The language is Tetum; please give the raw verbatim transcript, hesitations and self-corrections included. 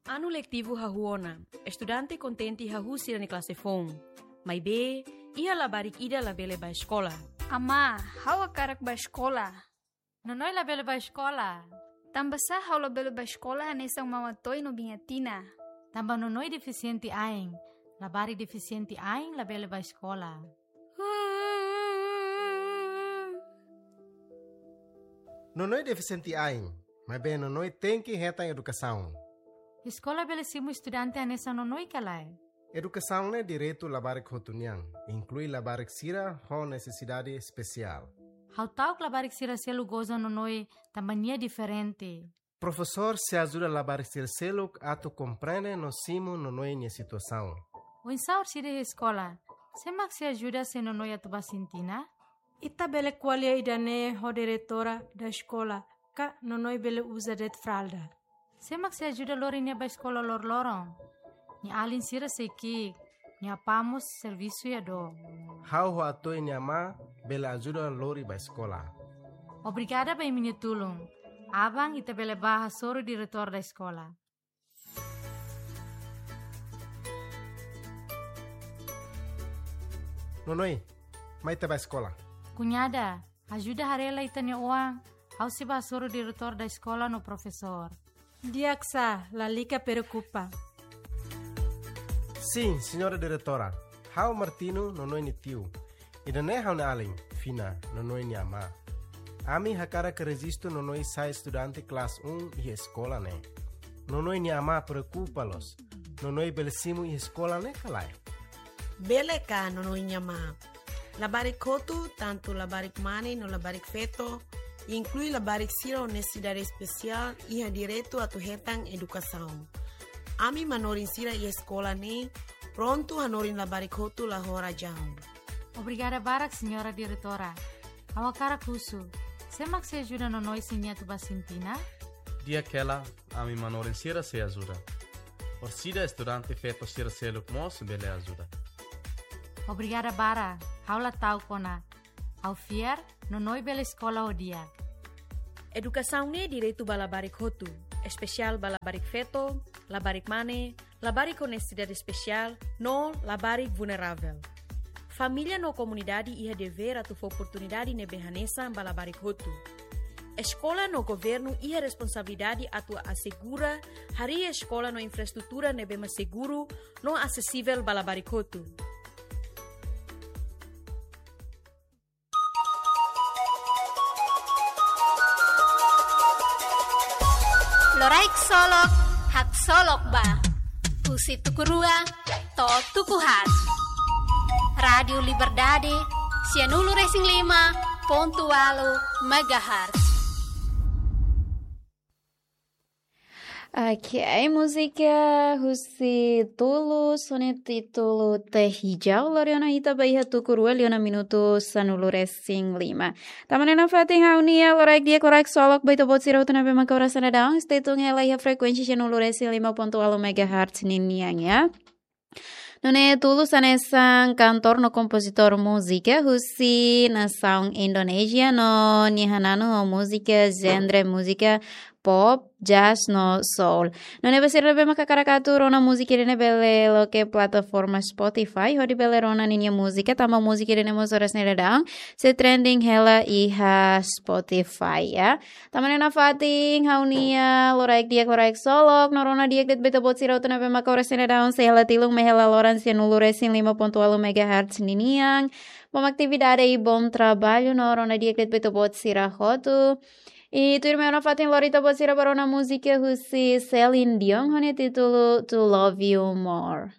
Anu letivu hahú ona, estudante kontente hahú sira-nia klase foun. Maibé, iha labarik ida labele bá eskola. Amá, ha'u hakarak bá eskola. Nonoi labele bá eskola. Tanbasá ha'u labele bá eskola hanesan Mama Toy no Biña Tina? Tanba Nonoi defisiente ain. Labarik defisiente ain labele bá eskola. Nonoi defisiente ain, maibé Nonoi tenke hetan edukasaun. Eskola bele simu estudante hanesan Nonoi ka lae? Edukasaun ne'e direitu labarik hotu nian, inklui labarik sira ho nesesidade espesiál. Ha'u ta'uk labarik sira seluk goza Nonoi tanba nia diferente. Profesór sei ajuda labarik sira seluk atu komprende no simu Nonoi nia situasaun. Oinsá orsida iha eskola? Sé mak sei ajuda se Nonoi atu bá sintina? Ita bele ko'alia ida-ne'e ho diretora da eskola, ka Nonoi bele uza de'it fralda. Sé mak sei ajuda lori nia bá eskola loroloron? Nia alin sira sei ki'ik, nia apá mós servisu iha dook. Ha'u ho Atoy nia amá bele ajuda lori bá eskola. Obrigada ba imi-nia tulun. Aban ita bele bá hasoru diretór da eskola. Nonoi, mai ita bá eskola. Kuñada, ajuda haree lai ita-nia oan, ha'u sei bá hasoru diretór da eskola no profesór. Di'ak sá, lalika preokupa. Sin, señora diretora. Ha'u Martino, Nonoi nia tiu. Ida-ne'e ha'u-nia alin, Fina, Nonoi nia amá. Ami hakarak rejistu Nonoi sai estudante klase um iha eskola ne'e. Nonoi nia amá preokupa loos. Nonoi bele simu iha eskola ne'e ka lae? Bele ka, Nonoi nia amá? Labarik hotu, tantu labarik mane no labarik feto, inklui labarik sira ho nesesidade espesiál, iha direitu atu hetan edukasaun. Ami manorin sira iha eskola ne'e prontu hanorin labarik hotu la ho razaun. Obrigada barak, señora diretora. Ha'u hakarak husu, sé mak sei ajuda Nonoi se nia atu bá sintina? Di'ak hela, ami manorin sira sei ajuda. Orsida estudante feto sira seluk mós bele ajuda. Obrigada barak, ha'u la ta'uk ona. Ha'u fiar, Nonoi bele eskola ho di'ak. Edukasaun ne'e direitu ba labarik hotu, espesiál ba labarik feto, labarik mane, labarik ho nesesidade espesiál, no labarik vulneravel. Família no komunidade iha devér atu fó oportunidade ne'ebé hanesan ba labarik hotu. Eskola no governu iha responsabilidade atu asegura harii eskola no infraestrutura ne'ebé mak seguru no asesivel ba labarik hotu. Loraik solok, haksolok ba. Husi tuku rua to'o tuku haat. Rádiu Liberdade, sianulu resin lima pontu ualu megahertz. Oke, múzika husi Tulus, ho nia títulu Teh Hijau, lori ona ita ba iha tuku rua liu ona minutu sanulu resin lima. Tama ona nafatin ha'u-nia loraik di'ak, loraik solok ba ita-boot sira hotu ne'ebé maka oras ne'e daudaun. Stay tune hela iha frekuénsia sianulu resin lima pontu ualu megahertz ninian, ya. Nune'e Tulus hanesan kantór no kompozitór múzika husi nasaun Indonézia no nia hananu ho múzika genre múzika pop, jazz no soul. Nune'e ba sira ne'ebé maka hakarak atu rona múzika ida-ne'e bele loke plataforma Spotify hodi bele rona ninia múzika, tanba múzika ida-ne'e mós oras ne'e daudaun sei trending hela iha Spotify, ya. Tama ona nafatin ha'u-nia loraik di'ak, loraik solok, no rona di'ak de'it ba ita-boot sira hotu ne'ebé maka oras ne'e daudaun sei hela tilun mai hela loron sianulu resin lima pontu ualu megahertz ninian. Bom atividade i bom trabalho, no rona di'ak de'it ba ita-boot sira hotu. I tuirmai ona nafatin lori ita-boot sira ba rona múzika husi Celine Dion, ho nia títulu To Love You More.